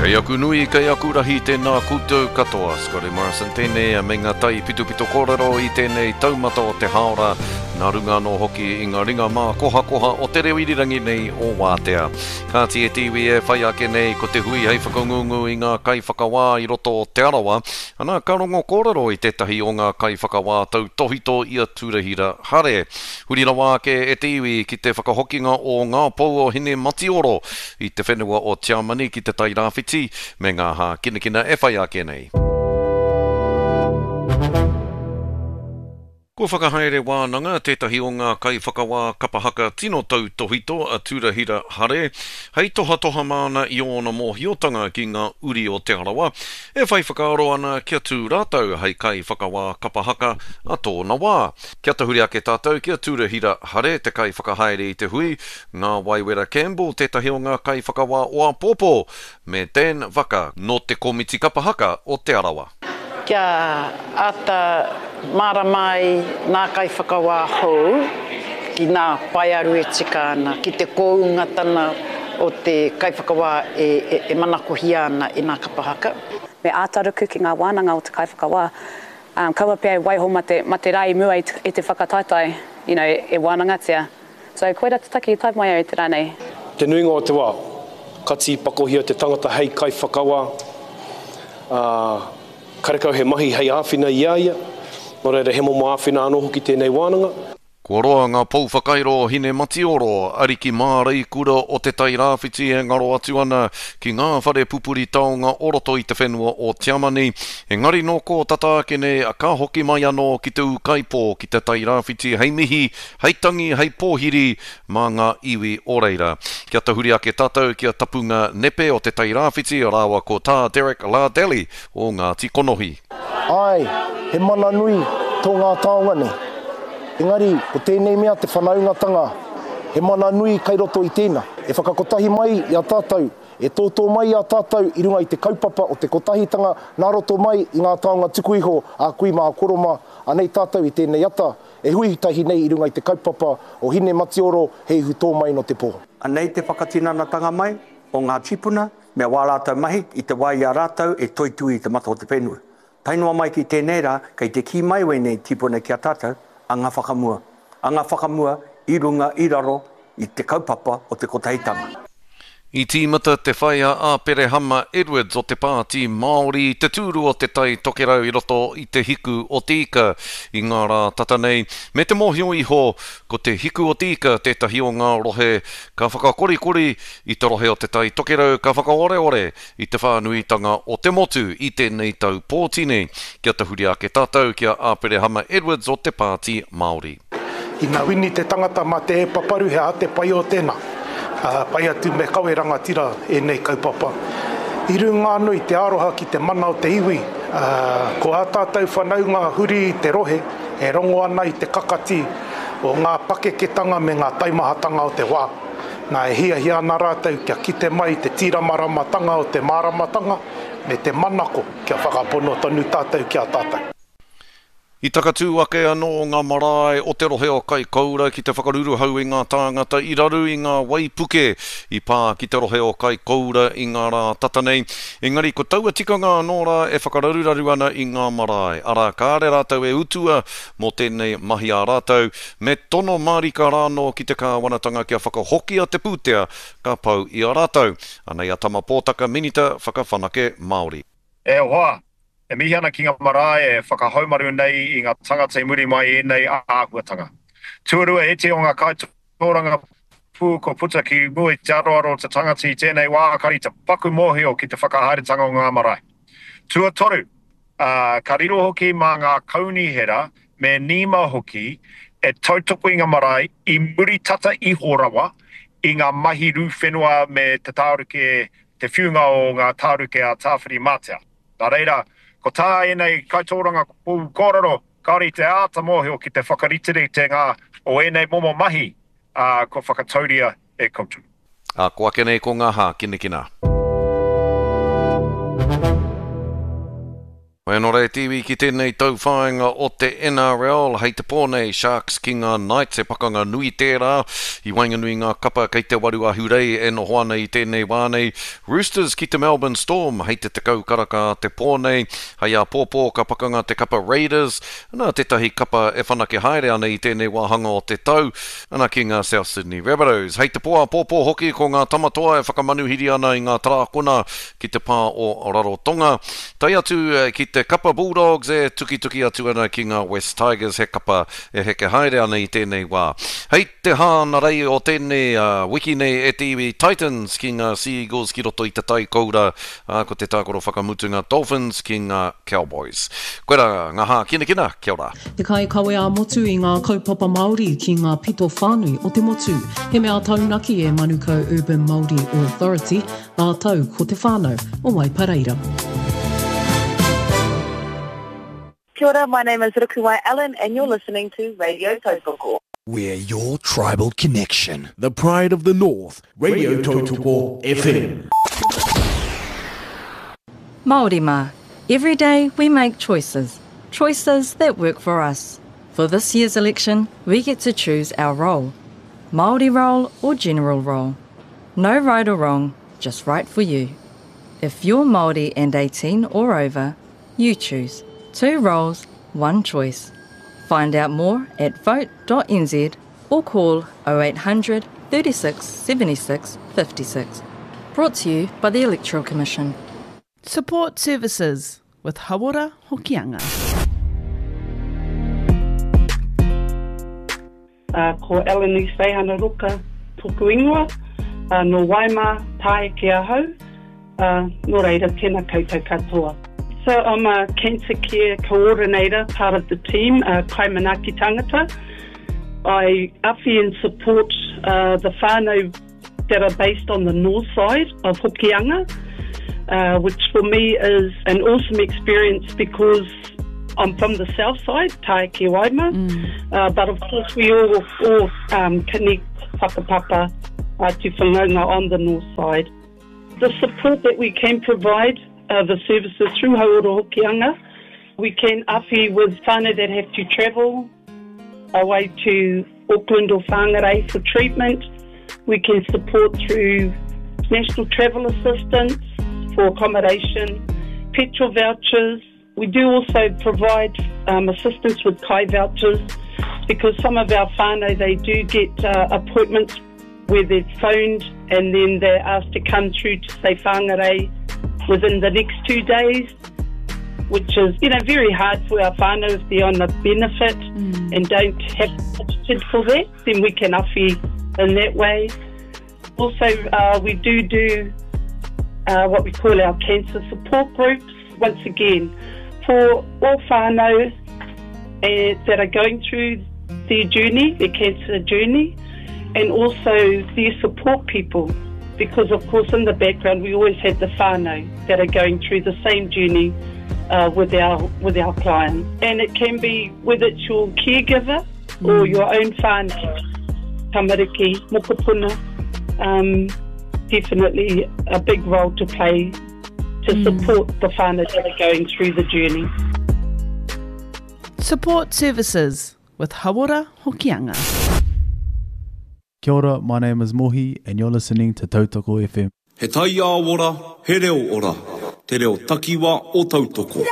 Kei aku nui, kei aku rahi, tēnā koutou katoa. Scotty Morrison tēnei me ngā taipitopito kōrero i tēnei taumata o te hāora, nā runga anō hoki i ngā ringa mākohakoha o te reo irirangi nei o Wātea. Kāti e te iwi e whai ake nei ko te hui hei whakangungu i ngā kaiwhakawā i roto o Te Arawa, ana ka rongo kōrero i tētahi o ngā kaiwhakawā tautōhito i a Turahira Hare. Huri rawa ake e te iwi ki te whakahokinga o ngā pou o Hinematioro i te whenua o Tiamani ki te Tai Rāwhiti me ngā hākinakina e whai ake nei. Kua whakahaere wānanga tētahi o ngā kaiwhakawā kapa haka tino tautōhito a Turahira Hare hei tohatoha māna i ōna mōhiotanga ki ngā uri o Te Arawa e whai whakaaro ana kia tū rātou hei kaiwhakawā kapa haka a tōna wā. Kia tahuri ake tātou ki a Turahira Hare, te kaiwhakahaere i te hui, Ngā Waiwera Campbell, tētahi o ngā kaiwhakawā o āpōpō, me Dan Vaka, nō te Komiti Kapa Haka o Te Arawa. Kia āta mārama ai ngā kaiwhakawā hou ki ngā paearu e tika ana, ki te koungatanga o te kaiwhakawā e manakohia ana e ngā kapa haka. Me āta ruku ki ngā wānanga o te kaiwhakawā Kaua pea e waiho ma te, ma te rā i mua i te, i te whakataetae, you know, e wānangatia. So, koira te take i tae mai au i te rā nei. Te nuinga o te wā, ka tīpakohia te tangata hei kaiwhakawā, ā, karekau he mahi hei āwhina i a ia, nō reira he momo āwhina anō hoki tēnei wānanga. Kua roa ngā pou whakairo o Hinematioro, ariki māreikura o Te Tai Rāwhiti e ngaro atu ana ki ngā whare pupuri taonga o roto i te whenua o Tiamani. Engari nō kō tata ake nei ka hoki mai anō ki te ūkaipō ki Te Tai Rāwhiti hei mihi, hei tangi, hei pōhiri mā ngā iwi o reira. Kia tahuri ake tātou ki a Tapunga Nepe o Te Tai Rāwhiti rāua ko Tā Derek Lardelli o Ngāti Konohi. Āe, he mana nui tō ngā taonga nei. Engari, ko tēnei mea te whanaungatanga, he mana nui kai roto i tēnā. E whakakotahi mai i a tātou, e tōtō mai i a tātou i runga i te kaupapa o te kotahitanga nā roto mai i ngā taonga tuku iho a kui mā a koro mā, anei tātou i tēnei ata, e hui tahi nei i runga i te kaupapa o Hine Matioro, he ihu tō mai nō te pō. Anei te whakatinanatanga mai o ngā tīpuna me wā rātou mahi i te wā i a rātou e toitū i te mata o te whenua. Tae noa mai ki tēnei rā, kei te kī mai wēnei tīpuna ki a tātou, anga whakamua. Anga whakamua i runga, i raro i te kaupapa o te kotahitanga. I tīmata te whai a Āperehama Edwards o te Pāti Māori i te tūru o Te Tai Tokerau i roto i Te Hiku o Te Ika i ngā rā tata nei, me te mōhio iho ko Te Hiku o Te Ika tētahi o ngā rohe ka whakakorikori i te rohe o Te Tai Tokerau ka whakaoreore i te whānuitanga o te motu i tēnei tau pōti nei. Kia tahuri ake tātou ki a Āperehama Edwards o te Pāti Māori. Ina wini te tangata ma te e paparu he aha te pai o tena? Pai atu me kawe rangatira enei kaupapa. I runga ano i te aroha ki te mana o te iwi, ko a tatou whanaunga huri i te rohe e rongo ana i te kakati o nga pakeketanga me nga taimahatanga o te wa. Na, e hiahia ana rātou kia kite mai te tīramaramatanga o te māramatanga me te manako kia whakapono tonu tātou ki a tātou. I takatū ake anō ngā marae o te rohe o Kaikoura ki te whakaruruhau i ngā tāngata i raru i ngā waipuke i pā ki te rohe o Kaikoura i ngā rā tata nei. Engari ko taua tikanga anō rā e whakararuraru ana i ngā marae, arā kāre rātou e utua mō tēnei mahi a rātou, Me tono mārika rānō ki te kāwanatanga kia whakahokia te pūtea ka pau i a rātou. Anei a Tama Pōtaka Minita Whakawhanake Māori. E hoa, e mihi ana ki nga marae e whakahaumaru nei i nga tangata i muri mai i enei āhuatanga. Tuarua, iti o nga kaitōrangapū kua puta ki mua i te aroaro o te tangata i tēnei wā kari te paku mōhio ki te whakahaeretanga o ngā marae. Tuatoru, ā, ka riro hoki mā ngā kaunihera me Nima hoki e tautoko i ngā marae i muri tata iho rawa i ngā mahi rū whenua me te tāruke, te whiunga o ngā tāruke a Tāwhirimātea. Nā reira, ko tā ēnei kaitōrangapū kōrero, kāore i te āta mōhio ki te whakariteritenga o ēnei momo mahi, ā, kua whakatauria e koutou. Ā, ko ake nei ko ngā hākinakina. Whai anō rā e te iwi ki tēnei tauwhāinga o te NRL, hei te pō nei Sharks ki ngā Knights, he pakanga nui tērā i waenganui i ngā kapa kei te waru ahurei e noho ana i tēnei wā nei. Roosters ki te Melbourne Storm hei te 10 karaka a te pō nei. Hei āpōpō ka pakanga te kapa Raiders, ana tētahi kapa e whanake haere ana i tēnei wāhanga o te tau, ana ki ngā South Sydney Rabbitohs. Hei te pō āpōpō hoki ko ngā Tamatoa e whakamanuhiri ana i ngā Tarākona ki te pā o Rarotonga, tae atu ki te kapa Bulldogs e tukituki atu ana ki ngā West Tigers, he kapa e heke haere ana i tēnei wā. Hei te hānarei o tēnei wiki nei e te iwi Titans ki ngā Sea Eagles ki roto i te tai koura, ā, ko te tākaro whakamutunga Dolphins ki ngā Cowboys. Koirā ngā hākinakina, kia ora. Te kaikawe ā-motu i ngā kaupapa Māori ki ngā pito whānui o te motu. He mea taunaki e Manukau Urban Māori Authority, Rātou ko te whānau o Waipareira. Kia ora, my name is Rukuwai Allen and you're listening to Radio Tautoko. We're your tribal connection. The pride of the North, Radio Tautoko FM. Māori mā, every day we make choices. Choices that work for us. For this year's election, we get to choose our role. Māori role or general role. No right or wrong, just right for you. If you're Māori and 18 or over, you choose. Two roles, one choice. Find out more at vote.nz or call 0800 36 76 56. Brought to you by the Electoral Commission. Support Services with Hauora Hokianga. Uh, ko Eleni Seihana Roka toku ingoa, uh, no Waima, Tāeke ahau, uh, nō reira, tēnā koutou katoa. So I'm a cancer care coordinator, part of the team, uh, Kaimanaaki Tangata. I awhi and support uh, the whānau that are based on the north side of Hokianga, uh, which for me is an awesome experience because I'm from the south side, Tāeke Waima, mm. uh, but of course we all, all um, connect whakapapa uh, to whanaunga on the north side. The support that we can provide, uh, the services through Hauora Hokianga, we can awhi with whānau that have to travel away to Auckland or Whangarei for treatment. We can support through national travel assistance for accommodation, petrol vouchers. We do also provide um, assistance with kai vouchers because some of our whānau, they do get uh, appointments where they're phoned and then they're asked to come through to say whangarei within the next two days, which is, you know, very hard for our whānau if they're on a benefit mm. and don't have budgeted for that, then we can awhi in that way. Also, uh, we do do uh, what we call our cancer support groups. Once again, for all whānau uh, that are going through their journey, their cancer journey, and also their support people. Because, of course, in the background, we always have the whānau that are going through the same journey uh, with our with our clients. And it can be whether it's your caregiver mm. or your own whānau, tamariki, mokopuna, um, definitely a big role to play to mm. support the whānau that are going through the journey. Support services with Hauora Hokianga. Kia ora, my name is Mohi and you're listening to Tautoko FM. He taiao ora, he reo ora, te reo takiwa o Tautoko.